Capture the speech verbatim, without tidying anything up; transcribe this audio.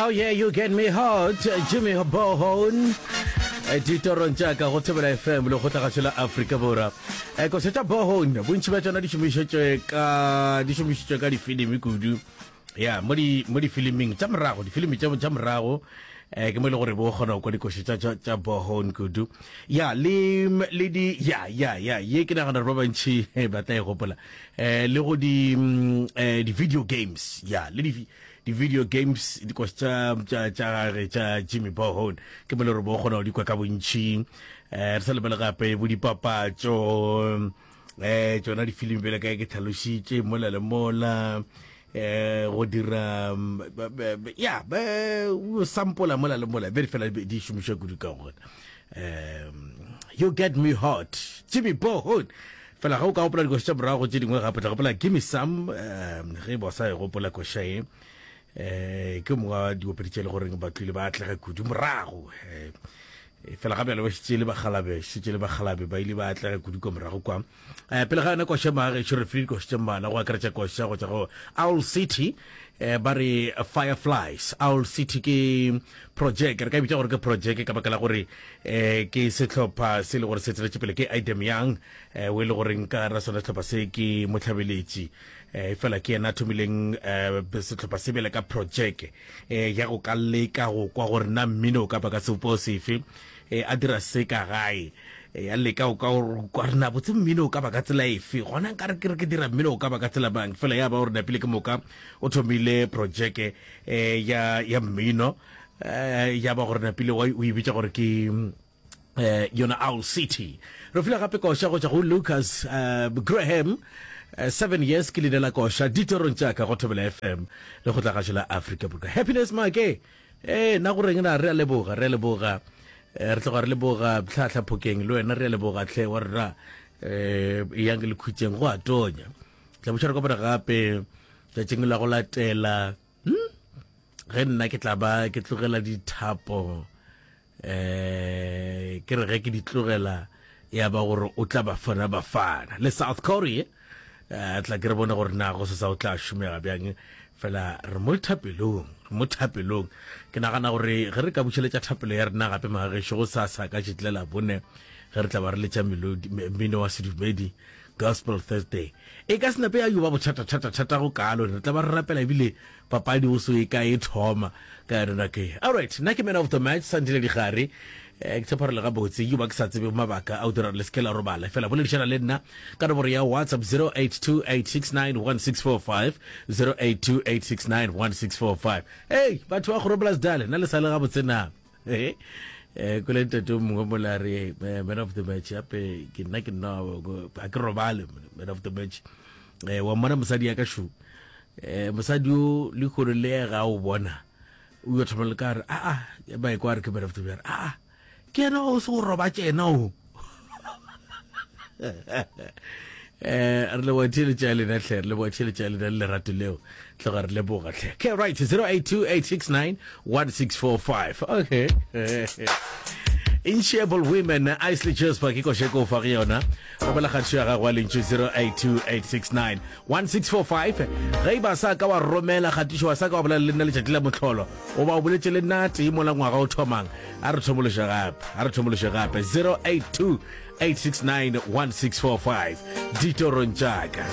Oh yeah, you get me hot, Jimmy Bohon. Ditorong tša ka go Thobela F M le kgotlagašo la Afrika Borwa. Eh, koša tša Bohon, bontši bja tšona di šomišetšwe ka di šomišitšwe ka difilimi kudu. Ya, mo di mo difiliming tša morago, difilimi tša tša morago eh ke mo e le gore bo kgona go kwa dikoša tša tša tša Bohon kudu. Ya, le le di ya ya ya ye ke nagana gore ba bantši eh, ba tla e gopola. Eh le go di mm, eh di video games. Ya, le di di video games, dikoša tša tša tša gage tša Jimmy Bohon ke mo le gore bo kgona go di kwa ka bontši. eh re sa lebele gape bo dipapatšo, eh tšona difilimi bjale ka ke tlhalošitše mola le mola, eh go dira mm, ba- ba- ba- ya ba sampola mola le mola be fela di šomišwa kudu ka gona. um you get me hot, Jimmy Bohon. Fela ga o ka gopola dikoša tša morago tše dingwe gape, tla gopola Gimme Some. um ge ba sa e gopola koša ye, eh ke mongwe wa diopedi tše e le goreng ba tlile ba atlega kudu morago. eh fela ga bjale ba šetše le bagalabe, šetše le bagalabe, ba ile ba atlega kudu kwa morago kwa. um pele ga yona koša, magagešo, re file dikoša tše mmalwa go akaretša koša go tšwa go Owl City, eh ba re Fireflies. Owl City ke project, re ka e bitša gore ke project ka baka la gore eh ke sehlopha se e le gore se tseletše pele ke Idem Young, eh o e le goreng ka ra sona sehlopha se ke motlhabeletši, eh fela ke yena a thomileng eh sehlopha se bjale ka project eh ya go ka leka go kwa gore na mmino o ka ba ka sebopo sefe. eh a dira se ka gae, eh a leka go ka kwa re na botse mmino o ka ba ka tsela efe gona, nka re ke re ke dira mmino o ka ba ka tsela bang. Fela ya ba gore napile ke moka o thomile project eh ya ya mmino, eh ya ba gore napile o e bitša gore ke eh yona Owl City. Re file gape koša go tšwa go Lucas uh, Graham, uh, Seven Years ke leina la koša. Ditorong tša ka go Thobela F M le go tlagašo la Afrika Borwa. Happiness Make, eh na goreng na, re a leboga, re a leboga. eh, re tloga re leboga tlhahla phokeng le wena, re a leboga tlhe wa rena. eh yang le khutšeng, go a tonya. Tla botša re kopana gape tšatšing la go latela, hmm? Ge nna ke tla ba ke tlogela dithapo, eh ke re ge ke di tlogela ya ba gore o tla Bafana Bafana le South Korea. eh tla ke re bone gore na go se sa o tla šomega bjang. Fela re mo thapelong, re mo thapelong. Ke nagana gore ge re ka bušeletša thapelo ya rena gape, magagešo, go sasa ka tšetlela bone ge re tla ba re letša mmino wa sedumedi, Gospel Thursday, e ka se nape ya yo ba bothata-thata-thata go kalo. Re tla ba re rapela ebile papadi o so e ka e thoma ka yona nako e. Alright, nna ke man of the match Santile Digare. eh ke tshepa re le gabotse. Yo ba ke sa tsebe mabaka a o dira le se ke la robala, fela boledišana le nna ka nomoro ya WhatsApp zero eight two eight six nine one six four five, zero eight two eight six nine one six four five. Hey, batho ba Groblersdal, nna le sa le gabotse na? Eh eh kole ntate o mongwe mola re, "Man of the match, ape ke nna, ke nna ga ke robale, man of the match." eh wa mmona mosadi ya ka šo, eh mosadi o le kgone le ga o bona o yo thoma le ka re a a ba e kwa re ke man of the match, a a ke yena o se go roba tšena o. eh re leboga tšhelete ya lena tlhe, re leboga tšhelete ya lena le lerato leo, tloga re leboga tlhe. Okay, right, zero eight two eight six nine one six four five. Okay, Inshapeable Women, Isley Jasper ke koše ko fa go yona. Romela kgatišo ya gago ya lentšu zero eight two eight six nine one six four five. Ge e ba sa ka wa romela kgatišo, wa sa ka wa bolela le nna letšatši la mohlolo, o ba o boletše le nna tee mola ngwaga o thomang, a re thomološe gape, a re thomološe gape. zero eight two eight six nine one six four five. Ditorong tšaka.